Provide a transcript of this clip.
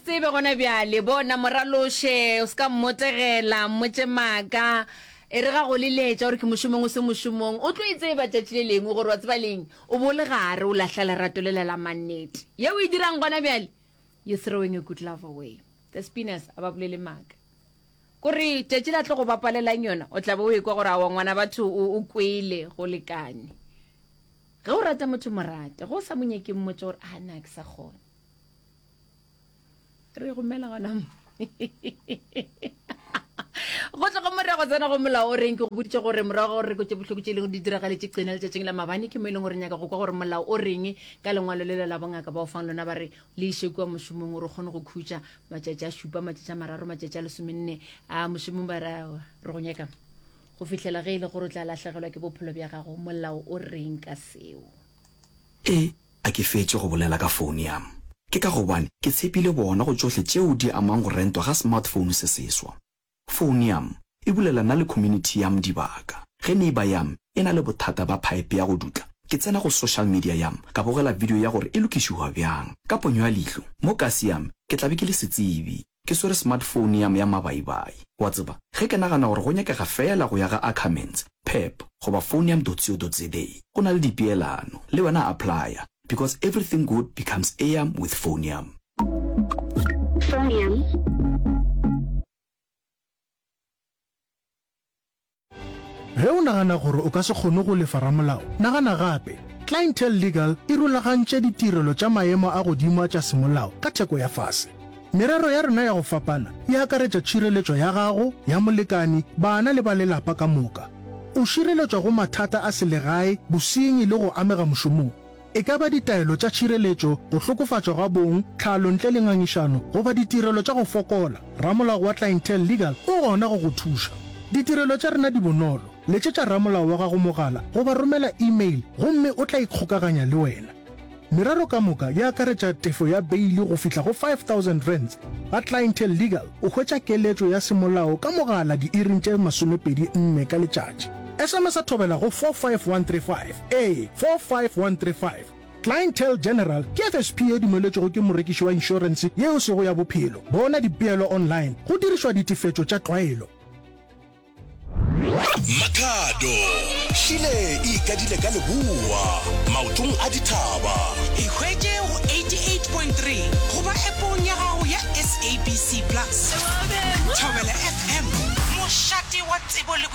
tsebe gona bjale. Bona, moraloše, o se ka mmotegela, mmotše maaka. E re ga go leletša gore ke mošomong o se mošomong, o tlo e tseba tšatši le lengwe gore wa tseba leng o bo le gare o lahla lerato lela la mannete. Ye o e dirang gona bjale, you throwing a good love away. The Spinners a ba bolele maaka. Kore tšatši la tlo go bapalelang yona, o tla be o ekwa gore aowa ngwana batho o, o kwele go lekane. Ge o rata motho mo rate, ge o sa mo nyake mmotše gore a na ke sa kgona. Re gomela gona mo. Go tloga mo re ya go tsena go molao o reng ke go boditše gore morago gore re kwetše bohloko tše e leng di diragaletše qena letšatšing la mabane ke mo e leng gore nyaka go kwa gore molao o reng ka lengwalo lela la bongaka ba o fang lona ba re le iše kua mošomong gore o kgone go khutša matšatši a šupa matšatši a mararo matšatši a lesomenne a mošomong ba re aowa re go nyaka go fihlela ge e le gore o tla lahlegelwa ke bophelo bja gago molao o reng ka seo E, a ke fetše go bolela ka phone yam. Ke ka gobane ke tshepile bona go tšohle tšeo di amang go rentwa ga smartphone se seswa. Phone yam e bulela nna le community yam dibaka. Ge neighbour yam e na le bothata ba pipe ya go dutla, ke tsena go social media yam ka bogela video ya gore e lokišiwa bjang. Ka ponyo ya leihlo, mo kasi yam ke tla be ke le setsebi, ke swere smartphone yam ya mabaibai. Wa tseba, ge ke nagana gore go nyakega feela go ya ga Ackermans, Pep goba phoneyam dot co dot za, go na le dipeelano. Le wena applya, because everything good becomes eyam with phoneyam. Phoneyam. Ge o nagana gore o ka se kgone go lefa ramolao, nagana gape. Clientele Legal e rulagantše ditirelo tša maemo a godimo a tša semolao ka theko ya fase. Merero ya rena ya go fapana e akaretša tšhireletšo ya gago, ya molekani, bana le ba lelapa ka moka. O šireletšwa go mathata a selegae, bosenyi le go amega mošomong. E ka ba ditaelo tša tšhireletšo, go hlokofatšwa ga bong, tlhalo ntle le ngangišano, goba ditirelo tša go fokola, ramolao wa Clientele Legal o gona go go thuša. Ditirelo tša rena di bonolo, letšetša ramolao wa gago mogala goba romela e-mail gomme o tla ikgokaganya le wena. Merero ka moka e akaretša tefo ya beili go fihla go R5000. Ga Clientele Legal o hwetša keletšo ya semolao ka mogala diiring tše 24 ka letšatši. SMS-a thobela go 45135. Ee, 45135. Clientele General ke FSP ye dumeletšwego ke morekiši wa inšorense ye e sego ya bophelo. Bona dipeelo online go dirišwa ditefetšo tša tlwaelo. Makhado hlile e ikadile ka leboa maotong a dithaba. Ikhwetše go 88.3 goba appong ya gago ya SABC Plus. Thobela FM, mošate wa tsebo le.